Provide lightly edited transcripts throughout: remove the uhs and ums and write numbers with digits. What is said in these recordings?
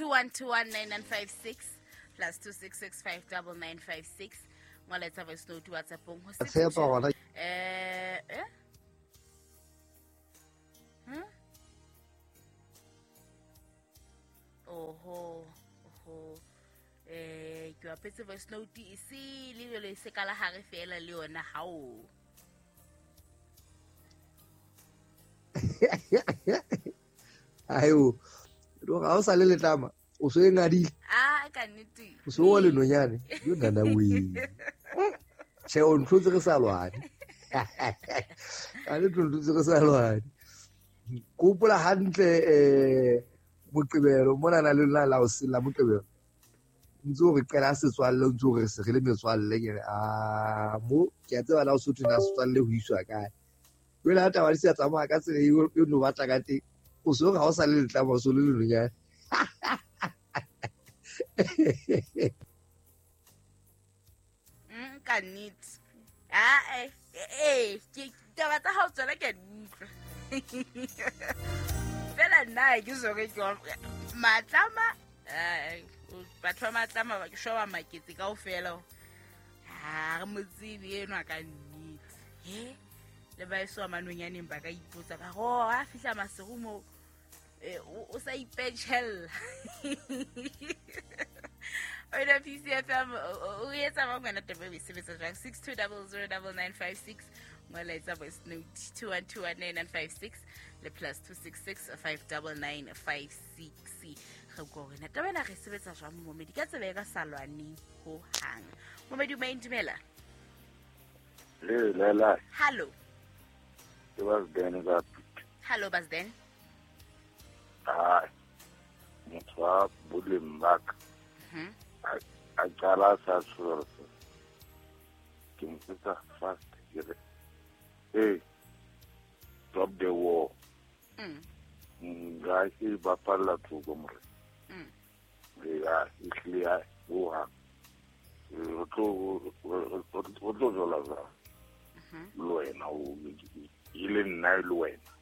21219956 plus 2665956 ngola etsa voice note WhatsAppong ho tshepa gona. Eh, Oho, oho. Ke bapetse voice note e se le jwale, e se ka la hare fela le yona hao. Ayo, ga o sa le letlama, o se e ngadile. Ah, ka nnete. O se o le nonyane yo nana we. Che, o ntlotse re sa lwane ka le ntlotse re sa lwane. Ke hopola hantle Moqebelo mona na le lona la o sela Moqebelo, ntse o re qela setswalle, o ntse o re se re le metswalle. Ke re a mo ke a tseba la o sotho na setswalle ho iswa kae. Jwale ha taba di sa tsamaya ka tsela eo e no batla ka teng, o se re ha o sa le letlama, o se le lenonyane. Ka nnete. Ah, ke taba tsa hao tsona ke a di utlwa. Fela nna ke sore ke matlama, batho ba matlama ba ke shoba maketse kaofela. Ha re mo tsebe enwa ka nnete. He, le ba eso manonyaneng ba ka ipotsa ba re, "Oh, ha fihla Maseru mo o sa ipetjhella." Wena PCFM o etsa ba ngwana taba e sebetsa jwang? 62009956, ngola etsa voice note 2121956 le plus 266 59956. Re bua wena taba ena re sebetsa jwang, momedi, ka tsela e ka sa lwaneng ho hang. Momedi o main, dumela. Le lela. Hallo. Ke Basden ka. Hallo, Basden. Ah, motho wa boleng ba ka a qala a sa tshosa, ke mo etsa fast, ke re, "Hey, stop the war." Nka e bapalla thoko more. Ya ehlile ya hohang re tlo jola jwang le wena o e le nna e le wena?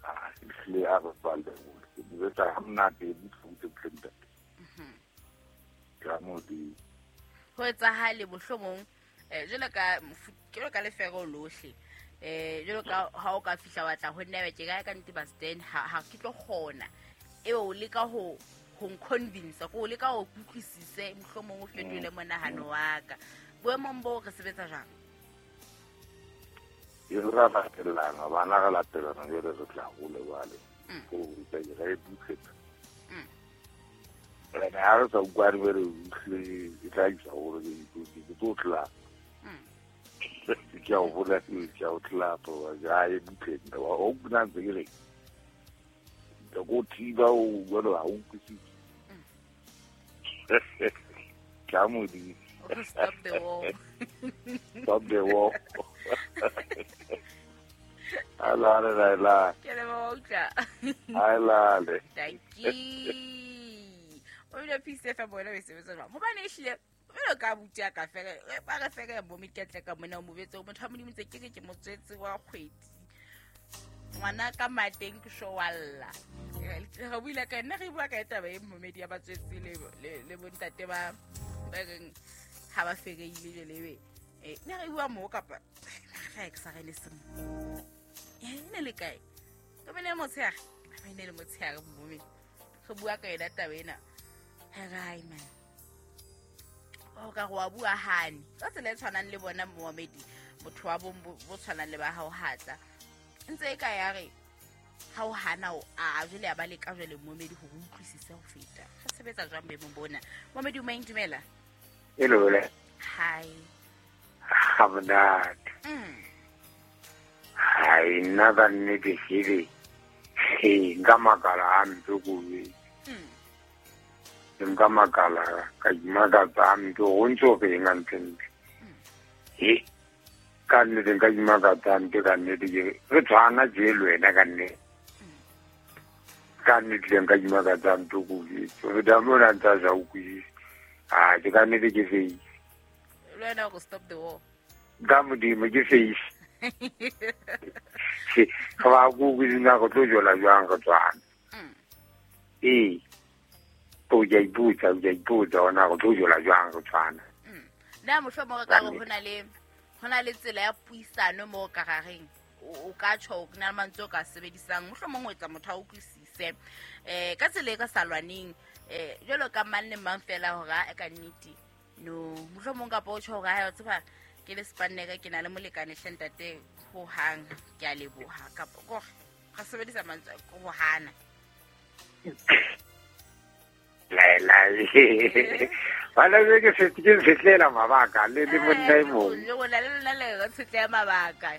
Ah, ehlile a bapalle hole, ke mo etsa ha monate, butle butle, ntate ka modimo. Ho etsahale mohlomong jwalo ka lefero lohle, jwalo ka ha o ka fihla wa tla ho nna be ke ka nnete, Basden, ha ke tlo kgona ebe o leka ho nconvince, ko o leka ho kutlwisise, mohlomong o fetole monahano wa ka. Boemong boo re sebetsa jwang? E re ra latelana bana, re latelana jwale, re tla hole jwale. Ko ruta ke re butle. Ene ha re sa utlwane bere utlwe, e tla isa hore ke tlo tlapa. Ke a o bolela, ke a o tlapa ja e butle nta o nna ntse ke re ke go thiba o jwale ha o utlwisise. Ka modimo. Stop the war. Stop the war. Alale la la. Ke leboha, utlwa. Alale. Dankie. O ile Peace FM, bona o e sebetsa jwang? Hobane ehlile jwalo ka abuti ya ka fela ba re fela mo meketle ka mona o mo betse motho wa Modimo, ntse ke re ke motswetse wa kgwedi, ngwana ka mateng ke sho walla. Re buile ka nna, re bua ka taba e momedi ya batswetse le bontate ba reng ha ba fereile jwale ebe ne re bua moo kapa ga ke sa re le semo e ne le kae ka bene motshehare, ba ne le motshehare momedi, re bua ka yona taba ena. Hai man, o ka go wa bua hane ka tsela e tshwanang le bona momedi, motho wa bong bo tshwanang le ba hao hatla ntse e ka ya re ha o hana o a jwale ya ba leka jwale momedi hore o utlwisise ho feta. Re sebetsa jwang boemong bona, momedi o maeng, dumela? Hello le. Hi. Ha monate. Hai, nna ka nnete shebe. He, nka makala hampe ko. Nka makala ka imakatsa hampe go ntse o reng hantlentle. He, ka nnete nka imakatsa hampe ka nnete, ke re tshwana je le wena ka nnete. Ka nnete le nka imakatsa hampe ko. Ho feta mona ntse a sa utlwisise. Ah, ke ka nnete ke face. Le wena o stop the war. Ka modimo ke face. Ga ba ko utlwisisa go tlo jola jwang re tswana. Ee. To ke iputsa ona go tlo jola jwang go tshwana. Nna mohlomong ka go hona le tsela ya puisano mo ka gareng o ka tjho o na le mantswe o ka sebedisang mohlomong o etsa motho a utlwisise ka tsela e ka sa lwaneng jwalo ka mang le mang fela hore a ka nnete no mohlomong kapa o tjho hore ha o tseba ke le spanneka ke na le molekane hle ntate ho hang ke a leboha kapa go ga sebedisa mantswe go hana la wala ke se ke fetlela mabaka le le monna e mong le wona le lona le re tshetlela mabaka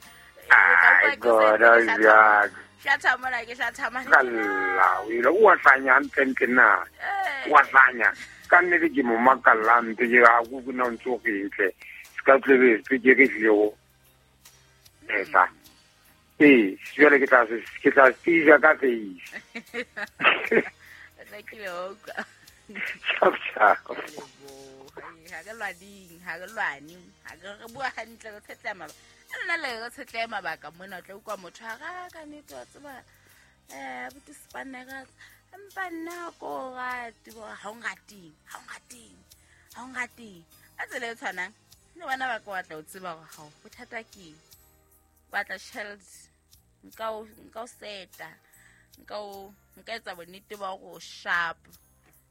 hlatha mona ke hlatha mane kalla o ile o hlanya ntle na wa hlanya ka nnete ke mo makalla nte ke ga go bona ntse go ntle se ka tlebe ke ke tlile go etsa ee jwale ke tla tija ka face tla ke le utlwa. Ciao. Ha ke lwane, ha ke re bua hantle re tshetleha mabaka. Nna le re tshetleha mabaka mona o tla utlwa motho a ra ka nnete wa tseba buti spanera empa nna ko rate bo ha o ngateng. A tsela e tshwanang le bana ba ka batla o tseba hore ha o bothata ke batla tjhelete nka o seta nka etsa bonnete ba hore o sharp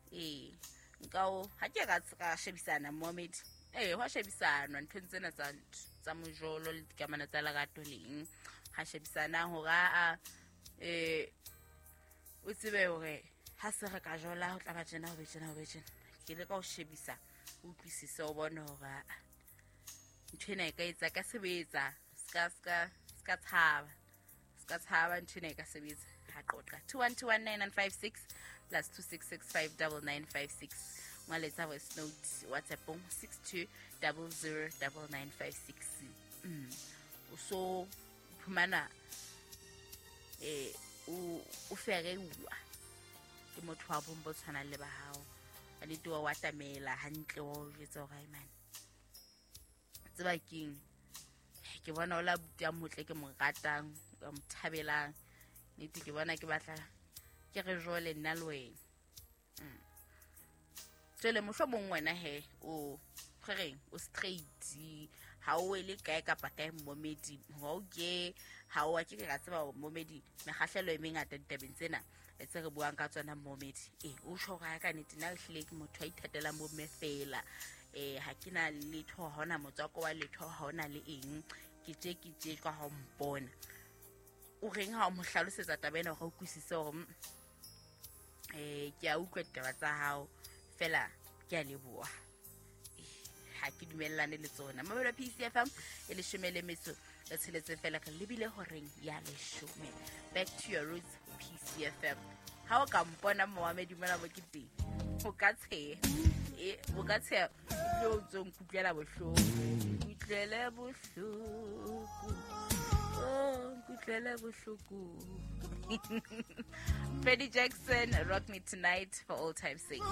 nka o ha ke ka shebisana Mohammed hwa shebisanwa nthong tsena tsa mojolo le dikamano tsa lerato leng ha shebisana hore a o tsebe hore ha se re ka jola ho tla ba tjena ho be tjena ke le ka o shebisa o utlwisise o bone hore ntho ena e ka etsa ka sebetsa ska tshaba ntho ena e ka sebetsa ha qoqa 2121956 plus 26659956 ngwaletsa voice note WhatsApp 62009956 o so phumana o fereuwa ke motho wa bong bo tshwanang le ba hao a nnete wa atamela hantle wa o jwetsa hore man tseba keng ke bona o la buti a motle ke mo ratang ka mo thabelang nnete ke bona ke batla ke re jole nna le wena jwale mohlomong wena he o reng o straight ha o ele kae kapa kae momedi ha o ke ha o ke ka tseba momedi mekgahlelo e mengata ditabeng tsena tse re buang ka tsona momedi o tjho hore ka nnete nna ehlile ke motho a ithatelang bomme fela ha ke na letho ha hona motswako wa letho ha hona le eng ke tje ka ha o mpona o reng ha o mo hlalosetsa taba ena hore o utlwisise hore ke a utlwa ditaba tsa hao fela ke a leboha ha ke dumellane le tsona. Mamelo PCFM e 16 fela re lebile horeng ya 10. Back to your roots PCFM. Ha o ka mpona Mohammed mona mo ke teng o ka tsheha o ka tsheha o ntso nkutlwela bohloko nkutlwele bohloko oh nkutlwele bohloko. Freddie Jackson, Rock Me Tonight for all time's sake.